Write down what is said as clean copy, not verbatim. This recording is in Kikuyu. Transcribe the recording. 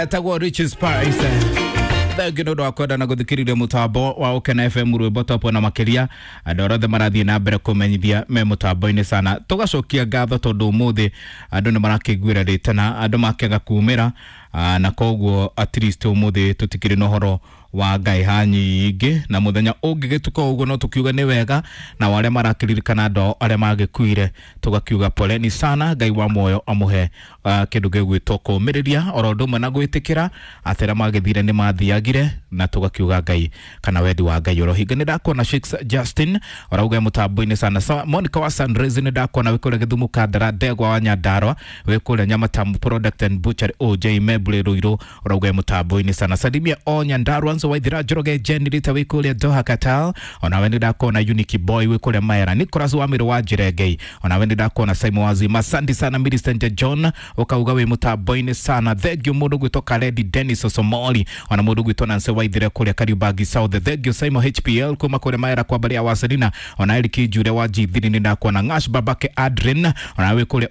Etagwo Rich Spice. Thengi nä å ndå wa kwenda na gå thikä rä ria må tambo wa Ũkena FM rwä top na makä andå arĩa othe marathiä na mbere kũmenyithia me mũtambo-inĩ sana. Tũgacokia ngatho tondũ ũmũthĩ andũ nĩ marakĩiguĩra rĩtana, andũ makĩaga kumĩra, na koguo at least ũmũthĩ tũtikĩrĩ na ũhoro wa ngaiha nyingĩ, na mũthenya ũngĩgĩtuka ũguo no tũkiuga nĩ wega, na arĩa marakĩririkana andũ ao arĩa magĩkuire tũgakiuga poleni sana. Ngai wa muoyo amũhe kĩndũ gĩgwĩtwo kũũmĩrĩria oro ũndũ ũmwe na gwĩtĩkĩra atĩ arĩa magĩthire nĩ mathiagire, na tũgakiuga Ngai kana wendi wa Ngai ũrohinga. Nĩ ndakuona Shakes Justin ũrauga mũtambo-inĩ sana. Monica wa Sunrise nĩ ndakuona wĩ kũrĩa Gĩthumo Kandara, Ndegwa wa Nyandarua wĩ kũrĩa Nyamatamu Product and Butchery, OJ Meble Ruiru ũrauga mũtambo-inĩ sana. Salimia o Nyandarua Nzo Waithira Njoroge Jen Rita wĩ kũrĩa Doha Qatar, onawe nĩ ndakuona Unique Boy wĩ kũrĩa Maera, Nicholas Wamiru wa Njirengei, onawe nĩ ndakuona Simon Wazima, asante sana. Millicent John ũkauga wĩ mũtambo-inĩ sana, thank you. Mũndũ gwĩtwo Karedi Dennis Osomoli, ona mũndũ gwĩtwo Nancy Waithira kũrĩa Kariubangi South, thank you. Simon HPL kuma kũrĩa Maera kwa Mbarĩ ya Waselina, ona Eric Njure wa G3 nĩ ndakuona, Ngash Babake Adrin onawe wĩ kũrĩa